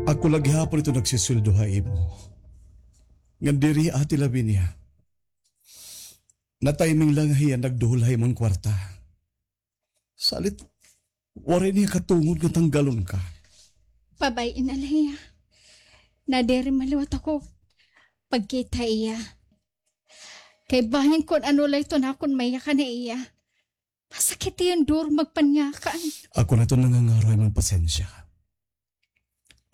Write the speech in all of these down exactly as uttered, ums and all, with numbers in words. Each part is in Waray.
Ako la gihapon ito nagsusweldo ha imo. Ngan diri, Ate Lavinia. Na-timing la nga hiya nagduhol ha imo nga kwarta. Salit, waray niya katungod nga tanggalon ka. Pabay-i na la hiya. Nadiri man liwat ako pagkita ha iya. Kay bahin kon ano la iton akon mayakan ha iya. Masakit iton duro magpanyakan. Ako na iton nangangaro ha imo nga pasensya.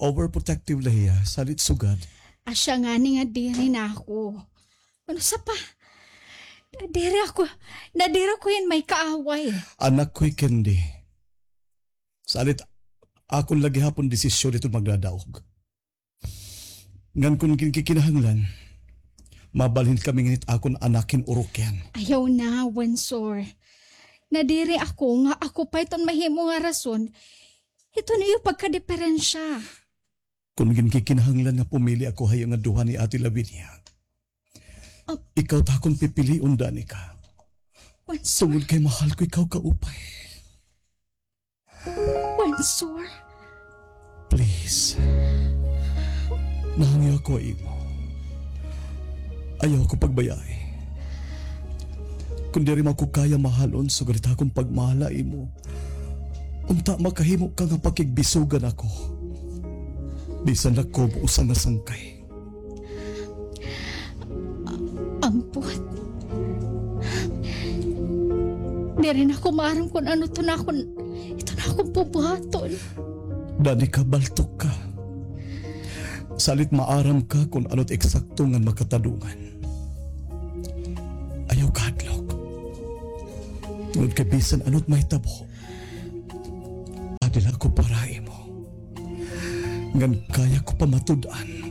Overprotective la hiya, salit sugad. Asya ngani nga diri na ako. Ano sa pa? Nadiri ako, nadiri ako hin may kaaway. Anak ko hi Candy. Salit, akon la gihapon desisyon iton magdadaog. Ngan kon ginkikinahanglan, mabalhin kami ngan it akon anak hin Oroquian. Ayaw na, Wensor. Nadiri ako nga ako pa iton mahimo nga rason hiton iyo pagkadiperensya. Kon ginkikinahanglan nga pumili ako ha iyo nga duha ni Ate Lavinia, ikaw it akon pipilion, Danica. Wensor. Tungod kay mahal ko ikaw kaupay. Wensor. Please. Nahangyo ako ha imo. Ayaw ako pagbayai. Kon diri mo ako kaya mahalon, sugad it akon pagmahal ha imo, unta makahimo ka nga pakigbisogan ako. Bisan la kubo usa nga sangkay. Ampot. Diri na ako maaram kon ano iton akon, iton akon bubuhaton. Danica, baltok ka. Salit maaram ka kon ano it eksakto ngan makatadungan. Ayaw kahadlok. Tungod kay bisan ano it mahitabo, adi la ako para ha imo. Ngan kaya ko pa matud-an